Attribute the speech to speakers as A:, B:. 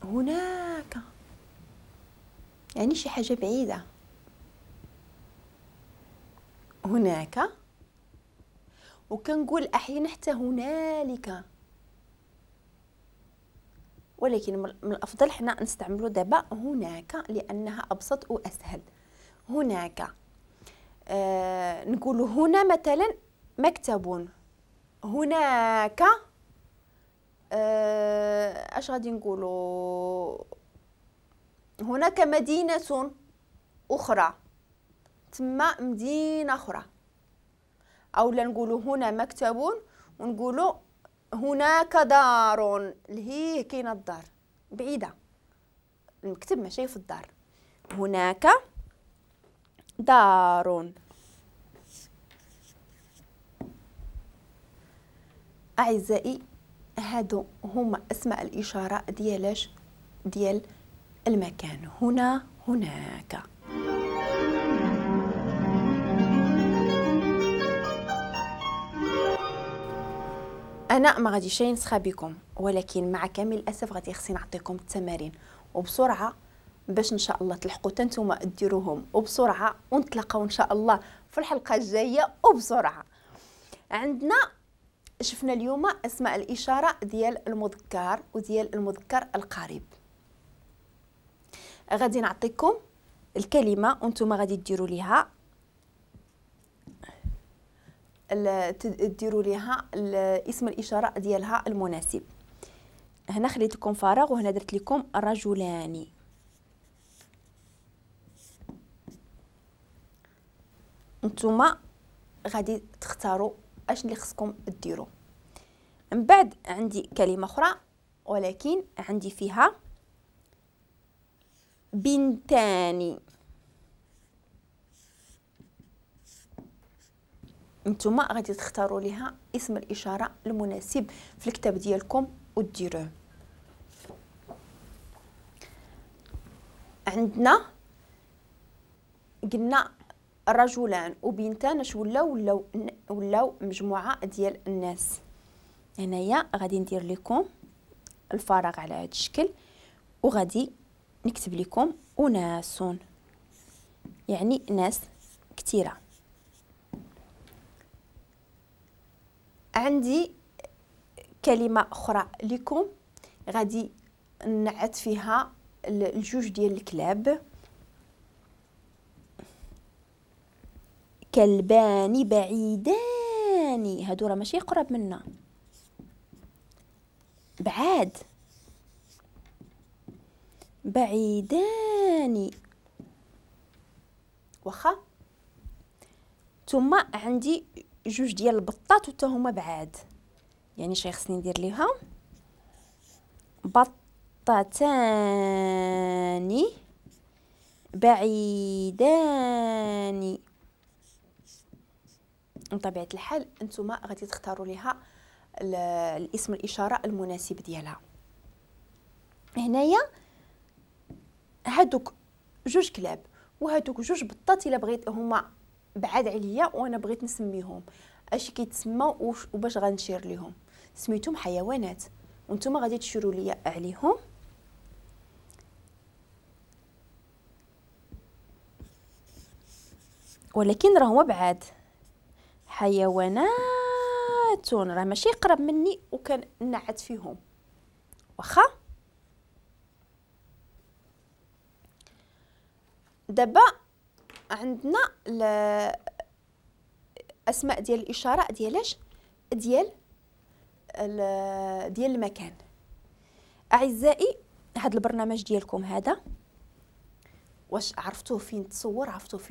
A: هناك يعني شي حاجة بعيدة. هناك، وكنقول أحيانا حتى هنالك، ولكن من الأفضل حنا نستعملو دابا هناك لأنها أبسط وأسهل. هناك نقول هنا مثلا مكتب، هناك اش غادي نقولوا، هناك مدينة أخرى، تما مدينة أخرى. أو لا نقولوا هنا مكتب ونقولوا هناك دار، اللي هي كاينة الدار بعيدة، المكتب ماشي في الدار. هناك دار. أعزائي هادو هما أسماء الإشارة ديالاش؟ ديال المكان. هنا، هناك. أنا ما غاديش نسخى بكم، ولكن مع كامل الأسف غادي خصني نعطيكم التمارين وبسرعة باش إن شاء الله تلحقوا حتى نتوما ديروهم وبسرعة، ونتلاقاو إن شاء الله في الحلقة الجاية وبسرعة. عندنا شفنا اليوم أسماء الإشارة ديال المذكر وديال المذكر القريب. غادي نعطيكم الكلمة وانتم غادي ديروا ليها اسم الإشارة ديالها المناسب. هنا خليت لكم فراغ وهنا درت لكم رجلان. نتوما غادي تختاروا اش اللي خصكم ديروا. من بعد عندي كلمة أخرى ولكن عندي فيها بنتان. نتوما غادي تختاروا ليها اسم الإشارة المناسب في الكتاب ديالكم وديروه. عندنا قلنا رجلان وبنتان، اش ولاو؟ ولاو مجموعة ديال الناس. هنايا غادي ندير لكم الفراغ على هذا الشكل وغادي نكتب لكم أناس، يعني ناس كثيرة. عندي كلمة أخرى لكم غادي نعت فيها الجوج ديال الكلاب. كلبان بعيدان، هادو راه ماشي قراب منا، بعاد، بعيدان. واخا. ثم عندي جوج ديال البطات وتا هما بعاد، يعني شي خصني ندير ليها بطتان بعيدان. بطبيعة الحال انتم غادي تختاروا ليها الاسم الإشارة المناسب ديالها. هنايا هادوك جوج كلاب وهادوك جوج بطات، الا بغيت هما بعاد عليا وانا بغيت نسميهم اش كيتسموا وباش غنشير ليهم، سميتهم حيوانات وانتم غادي تشيروا ليا عليهم. ولكن راه هما بعاد، حيوانات راه ماشي قرب مني وكنعت فيهم. واخا. دابا عندنا الاسماء ديال الاشارة ديالاش؟ ديال المكان. اعزائي هذا البرنامج ديالكم هذا واش عرفتوه فين تصور، عرفتوه فين